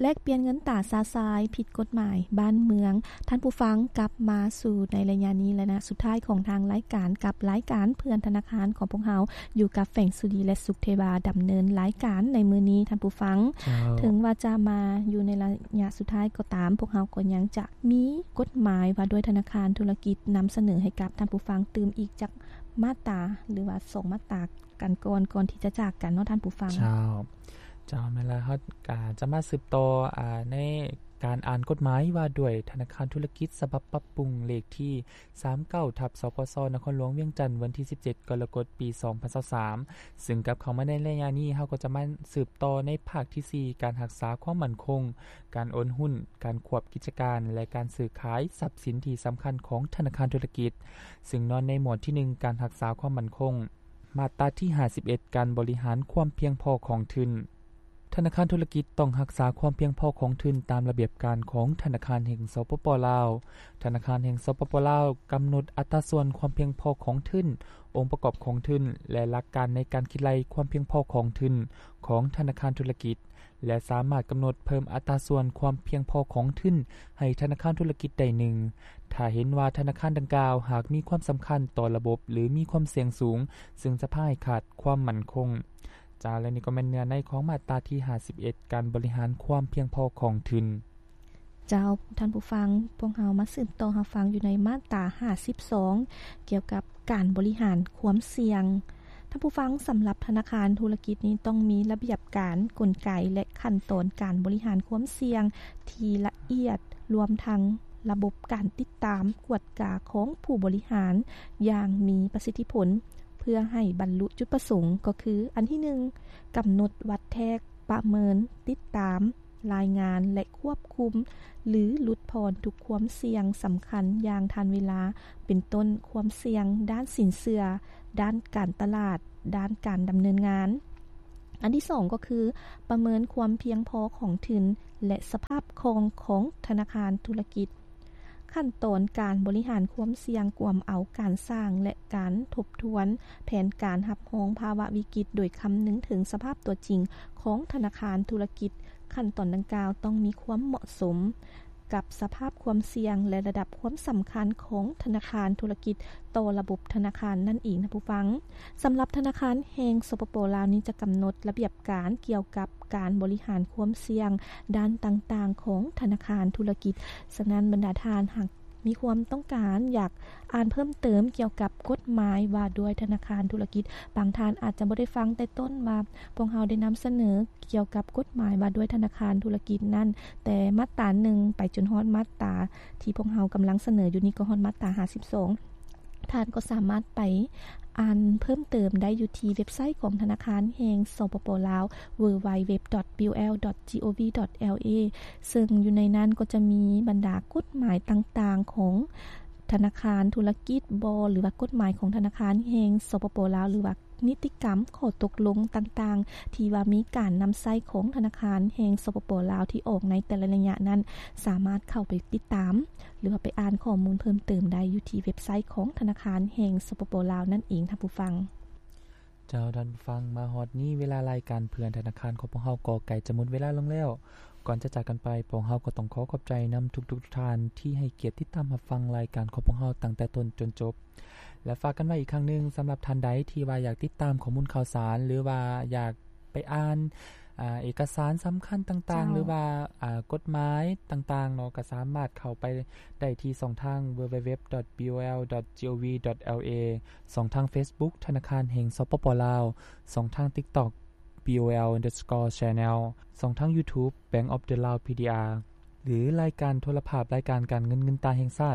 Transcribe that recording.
ແລກປ່ຽນເງິນຕາຊາຊາຍຜິດກົດໝາຍບ້ານເມືອງ. ທ່ານຜູ້ຟັງ, ກັບມາສູ່ໃນໄລຍະນີ້ ແລະ ໄລຍະສຸດທ້າຍຂອງທາງລາຍການ ກັບລາຍການເພື່ອນທະນາຄານຂອງພວກເຮົາ ຢູ່ກັບແຟງສຸລີ ແລະ ສຸກເທວາ ດຳເນີນລາຍການໃນມື້ນີ້. ທ່ານຜູ້ຟັງ, ເຈົ້າ. ເຖິງວ່າຈະມາຢູ່ໃນໄລຍະສຸດທ້າຍກໍຕາມ, ພວກເຮົາກໍຍັງຈະມີກົດໝາຍວ່າດ້ວຍທະນາຄານທຸລະກິດ ນຳສະເໜີໃຫ້ກັບທ່ານຜູ້ຟັງຕື່ມອີກຈັກມາດຕາ ຫຼືວ່າສອງມາດຕາກັນກ່ອນ, ກ່ອນທີ່ຈະຈາກກັນເນາະທ່ານຜູ້ຟັງ. ເຈົ້າ. ເຈົ້າ, ແມ່ນແລ້ວ, ເຮົາກໍຈະມາສືບຕໍ່ ອາ ໃນການອ່ານກົດໝາຍວ່າດ້ວຍທະນາຄານທຸລະກິດ ສະບັບປັບປຸງ ເລກທີສາມເກົ້າ ທັບ ສພສ ນະຄອນຫຼວງວຽງຈັນ ວັນທີສິບເຈັດ ກໍລະກົດ ປີສອງພັນຊາວສາມ ຊຶ່ງກັບເຂົ້າມາໃນໄລຍະນີ້, ເຮົາກໍຈະມາສືບຕໍ່ໃນພາກທີສີ່ ການຮັກສາຄວາມໝັ້ນຄົງ, ການໂອນຫຸ້ນ, ການຄວບກິດຈະການ ແລະ ການຊື້ຂາຍຊັບສິນທີ່ສຳຄັນຂອງທະນາຄານທຸລະກິດ, ຊຶ່ງນອນໃນໝວດທີໜຶ່ງ ການຮັກສາຄວາມໝັ້ນຄົງ. ມາດຕາທີຫ້າສິບເອັດ ການບໍລິຫານຄວາມພຽງພໍຂອງທຶນ. ທະນາຄານທຸລະກິດຕ້ອງຮັກສາຄວາມພຽງພໍຂອງທຶນຕາມລະບຽບການຂອງທະນາຄານແຫ່ງ ສປປ ລາວ. ທະນາຄານແຫ່ງ ສປປ ລາວ ກຳນົດອັດຕາສ່ວນຄວາມພຽງພໍຂອງທຶນ, ອົງປະກອບຂອງທຶນ ແລະ ຫຼັກການໃນການຄິດໄລ່ຄວາມພຽງພໍຂອງທຶນຂອງທະນາຄານທຸລະກິດ. ແລະ ສາມາດກຳນົດເພີ່ມອັດຕາສ່ວນຄວາມພຽງພໍຂອງທຶນໃຫ້ທະນາຄານທຸລະກິດໄດ້ໜຶ່ງ ຖ້າເຫັນວ່າທະນາຄານດັ່ງກ່າວຫາກມີຄວາມສຳຄັນຕໍ່ລະບົບ ຫຼື ມີຄວາມສ່ຽງສູງ ຊຶ່ງຈະພາໃຫ້ຂາດຄວາມໝັ້ນຄົງ. ເຈົ້າ, ແລະ ນີ້ກໍແມ່ນເນື້ອໃນຂອງມາດຕາທີຫ້າສິບເອັດ ການບໍລິຫານຄວາມພຽງພໍຂອງທຶນ. ເຈົ້າ, ທ່ານຜູ້ຟັງ, ພວກເຮົາມາສືບຕໍ່ຮັບຟັງຢູ່ໃນມາດຕາຫ້າສິບສອງ ກ່ຽວກັບການບໍລິຫານຄວາມສ່ຽງ. ທ່ານຜູ້ຟັງ, ສຳລັບທະນາຄານທຸລະກິດນີ້ຕ້ອງມີລະບຽບການ, ກົນໄກ ແລະ ຂັ້ນຕອນການບໍລິຫານຄວາມສ່ຽງທີ່ລະອຽດ, ລວມທັງລະບົບການຕິດຕາມ, ກວດກາຂອງຜູ້ບໍລິຫານຢ່າງມີປະສິດທິຜົນ ເພື່ອໃຫ້ບັນລຸຈຸດປະສົງ, ກໍຄື ອັນທີໜຶ່ງ ກຳນົດວັດແທກ, ປະເມີນ, ຕິດຕາມ, ລາຍງານ ແລະ ຄວບຄຸມ ຫຼື ຫຼຸດຜ່ອນທຸກຄວາມສ່ຽງສຳຄັນຢ່າງທັນເວລາ, ເປັນຕົ້ນ ຄວາມສ່ຽງດ້ານສິນເຊື່ອ, ດ້ານການຕະຫຼາດ, ດ້ານການດຳເນີນງານ. ອັນທີສອງກໍຄື ປະເມີນຄວາມພຽງພໍຂອງທຶນ ແລະ ສະພາບຄ່ອງຂອງທະນາຄານທຸລະກິດ. ຂັ້ນຕອນການບໍລິຫານຄວາມສ່ຽງກວມເອົາການສ້າງ ແລະ ການທົບທວນແຜນການຮັບຮອງພາວະວິກິດ ໂດຍຄຳນຶງເຖິງສະພາບຕົວຈິງຂອງທະນາຄານທຸລະກິດ. ຂັ້ນຕອນດັ່ງກ່າວຕ້ອງມີຄວາມເໝາະສົມກັບສະພາບຄວາມສ່ຽງ ແລະ ລະດັບຄວາມສຳຄັນຂອງທະນາຄານທຸລະກິດຕໍ່ລະບົບທະນາຄານນັ້ນເອງ, ທ່ານຜູ້ຟັງ. ສຳລັບທະນາຄານແຫ່ງ ສປປ ລາວ ນີ້ຈະກຳນົດລະບຽບການກ່ຽວກັບການບໍລິຫານຄວາມສ່ຽງດ້ານຕ່າງໆຂອງທະນາຄານທຸລະກິດ. ສະນັ້ນ, ບັນດາທ່ານຫາກມີຄວາມຕ້ອງການຢາກອ່ານເພີ່ມເຕີມກ່ຽວກັບກົດໝາຍວ່າດ້ວຍທະນາຄານທຸລະກິດ, ບາງທ່ານອາດຈະບໍ່ໄດ້ຟັງແຕ່ຕົ້ນວ່າພວກເຮົາໄດ້ນຳສະເໜີກ່ຽວກັບກົດໝາຍວ່າດ້ວຍທະນາຄານທຸລະກິດນັ້ນ, ແຕ່ມາດຕາໜຶ່ງໄປຈົນຮອດມາດຕາທີ່ພວກເຮົາກຳລັງສະເໜີຢູ່ນີ້ ກໍຮອດມາດຕາຫ້າສິບສອງ. ທ່ານກໍສາມາດໄປອ່ານເພີ່ມເຕີມໄດ້ຢູ່ທີ່ເວັບໄຊຂອງທະນາຄານແຫ່ງ ສປປ ລາວ www.bol.gov.la ເຊິ່ງຢູ່ໃນນັ້ນກໍຈະມີບັນດາກົດໝາຍຕ່າງໆຂອງທະນາຄານທຸລະກິດບໍ ຫຼືວ່າກົດໝາຍຂອງທະນາຄານແຫ່ງ ສປປ ລາວ ຫຼືວ່າ ນິຕິກຳ, ຂໍ້ຕົກລົງຕ່າງໆ ທີ່ວ່າມີການນຳໃຊ້ຂອງທະນາຄານແຫ່ງ ສປປ ລາວ ທີ່ອອກໃນແຕ່ລະໄລຍະນັ້ນ ສາມາດເຂົ້າໄປຕິດຕາມ ຫຼືວ່າໄປອ່ານຂໍ້ມູນເພີ່ມເຕີມໄດ້ຢູ່ທີ່ເວັບໄຊຂອງທະນາຄານແຫ່ງ ສປປ ລາວ ນັ້ນເອງ ທ່ານຜູ້ຟັງ. ເຈົ້າ, ທ່ານຜູ້ຟັງ, ມາຮອດນີ້ເວລາລາຍການເພື່ອນທະນາຄານຂອງພວກເຮົາກໍໃກ້ຈະໝົດເວລາລົງແລ້ວ. ກ່ອນຈະຈາກກັນໄປ, ພວກເຮົາກໍຕ້ອງຂໍຂອບໃຈນຳທຸກໆທ່ານທີ່ໃຫ້ກຽດຕິດຕາມຮັບຟັງລາຍການຂອງພວກເຮົາຕັ້ງແຕ່ຕົ້ນຈົນຈົບ. ແລະ ຝາກກັນໄວ້ອີກຄັ້ງໜຶ່ງ, ສຳລັບທ່ານໃດທີ່ວ່າຢາກຕິດຕາມຂໍ້ມູນຂ່າວສານ ຫຼືວ່າຢາກໄປອ່ານ ອາ ເອກະສານສຳຄັນຕ່າງໆ ເຈົ້າ ຫຼືວ່າ ອາ ກົດໝາຍຕ່າງໆເນາະ, ກໍສາມາດເຂົ້າໄປໄດ້ທີ່ຊ່ອງທາງ www.bol.gov.la, ຊ່ອງທາງ Facebook ທະນາຄານແຫ່ງ ສປປ ລາວ, ຊ່ອງທາງ TikTok bol underscore channel, ຊ່ອງທາງ YouTube Bank of the Lao PDR ຫຼື ລາຍການໂທລະພາບ, ລາຍການການເງິນ, ເງິນຕາແຫ່ງຊາດ,